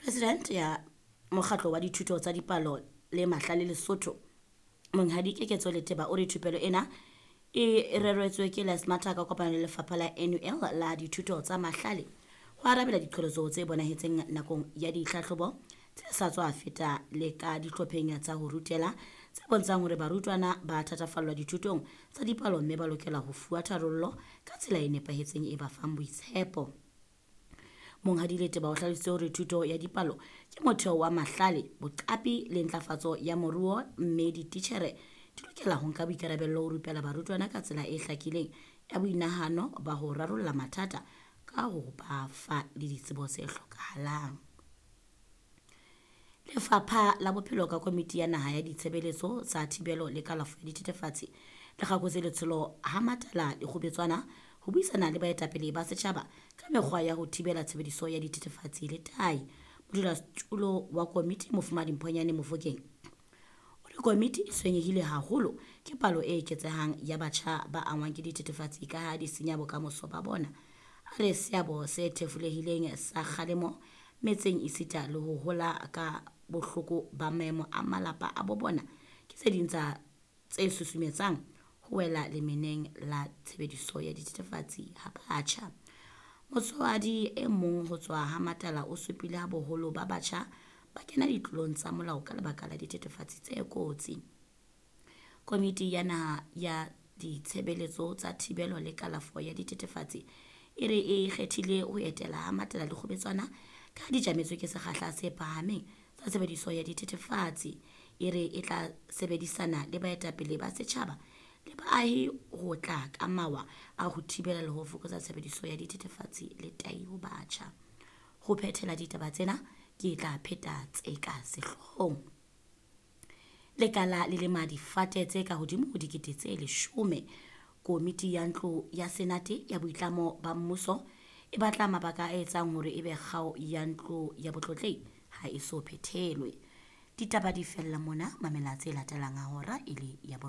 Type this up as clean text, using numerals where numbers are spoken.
President ya Mokgatlo wa Dithuto tsa Dipalo le Mahlale Lesotho, Monghadi Keketso Leteba o re thupelo ena e reretswe ke Lesmata ka kopano le lefapha la NUL la dithuto tsa mahlale ho arabela diqholotso tse bonahetseng nakong ya ditlhahlobo tse sa tswa feta le ka dihlopheng tsa ho rutela tse bontshang hore barutwana ba thatafallwa dithutong tsa dipalo mme ba lokela ho fuwa tharollo ka tsela e nepahetseng e ba fang boitshepo. Monghadi Leteba o hlalositse hore thuto ya dipalo ke motheo wa mahlale, boqapi le ntlafatso ya moruo mme dititjhere di lokela ho nka boikarabello ho rupela barutwana ka tsela e hlakileng ya boinahano ba ho rarolla mathata ka ho ba fa le ditsebo tse hlokahalang. Lefapha la Bophelo ka Komiti ya Naha ya Ditshebeletso tsa Thibelo le Kalafo ya Dithethefatsi le kgakotse letsholo ha Matala Dikgubetswana ho buisana le baetapele ba setjhaba ka mekgwa ya ho thibela tshebediso ya dithethefatsi le tahi. Modulasetulo wa komiti Mofumahadi Mphonyane Mofokeng o re komiti e tshwenyehile haholo ke palo e eketsehang ya batjha ba angwang ke dithethefatsi ka ha di senya bokamoso ba bona. A re seabo se thefulehileng sa kgalemo metseng esita le ho hola ka bohloko ba maemo a malapa a bo bona ke tse ding tsa tse susumetsang ho wela lemeneng la tshebediso ya dithethefatsi ha batjha. Motswadi e mong ho tswa ha Matala o supile ha boholo ba batjha ba kena ditlolong tsa molao ka lebaka la dithethefatsi tse kotsi. Komiti ya Naha ya Ditshebeletso tsa Thibelo le Kalafo ya Dithethefatsi e re e kgethile ho etela ha Matala Dikgubetswana ka ha di tjametswe ke sekgahla se phahameng sa tshebediso ya dithethefatsi. E re e tla sebedisana le baetapele ba setjhaba le baahi ho tla ka mawa a ho thibela le ho fokotsa tshebediso ya dithethefatsi le tahi ho batjha. Ho phethela ditaba tsena ke tla pheta tse ka sehloohong. Lekala le lema difate tse ka hodimo ho 10,000. Komiti ya Ntlo ya Senate ya Boitlamo ba Mmuso e batla mabaka a etsang hore ebe kgao ya Ntlo ya Botlotlehi ha e so phethelwe. Ditaba di fella mona, mamela tse latelang ha hora e le ya